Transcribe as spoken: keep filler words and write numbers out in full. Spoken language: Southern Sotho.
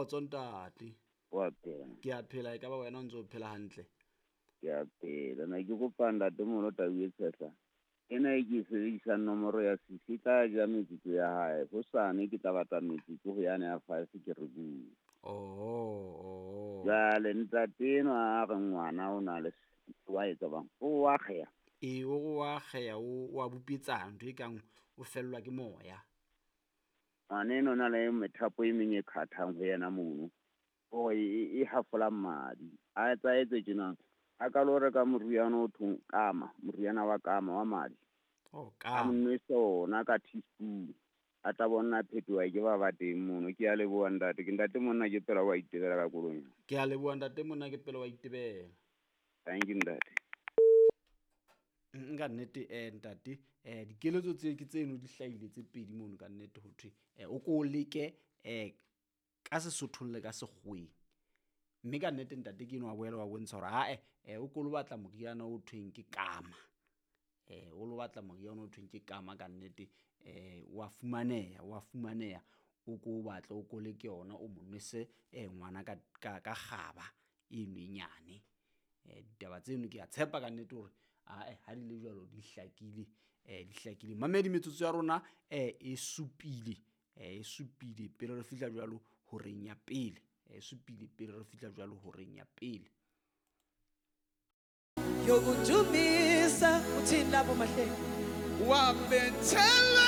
Kgotso ntate. Wa phela? Ke a phela, e ka ba wena o ntse o phela hantle? Ke a phela. Ne ke kopa ntatemoholo tau e tshehla. Ena e ke e sebedisang nomoro ya six e tla ja metsotso ya hae. Hosane ke tla batla metsotso ho yane ya five ke re bue. Oho, oho. Jwale ntate enwa a re ngwana o na le wa etsa bang? O wa kgeya. Ee, o re wa kgeya, o wa bupetsana, ntho e kang o fellwa ke moya. Ngwana enwa o na le methapo e meng e khathang ho yena mono. Hore e, e hafola madi. A etsa etse tjena. A ka lo reka moriana o thong kama, moriana wa kama wa madi. Oh, A kama. mo nwesa ona ka teaspoon. A tla bona phetoha ke ba ba teng mono. Ke a leboha ntate. Ke ntate monna ke pela wa itebela ka koloi. Ke a leboha ntate monna ke pela wa itebela. Thank you ntate. Nka nnete eh ntate eh dikeletso tse ke tseno di hlahile tse pedi mono ka nnete ho thwe eh o ko leke eh ka Sesothong le ka Sekgoweng. Mme ka nnete ntate ke enwa wa boela wa bontsha hore ae eh o ko lo batla moriana o thweng ke kama. Eh o lo batla moriana o thweng ke kama ka nnete eh wa fumaneha, wa fumaneha o ko o batle o ko leke yona o mo nwese eh ngwana ka ka ka kgaba eno e nyane. Eh ditaba tseno ke a tshepa ka nnete hore ae ha di le jwalo di hlakile, eh di hlakile. Mamedi metsotso ya rona eh e supile, eh e supile pele re fihla jwalo horeng ya pele. E supile pele re fihla jwalo horeng ya pele. Yokudumisa uthini lapho mahlelo? Wabethelwa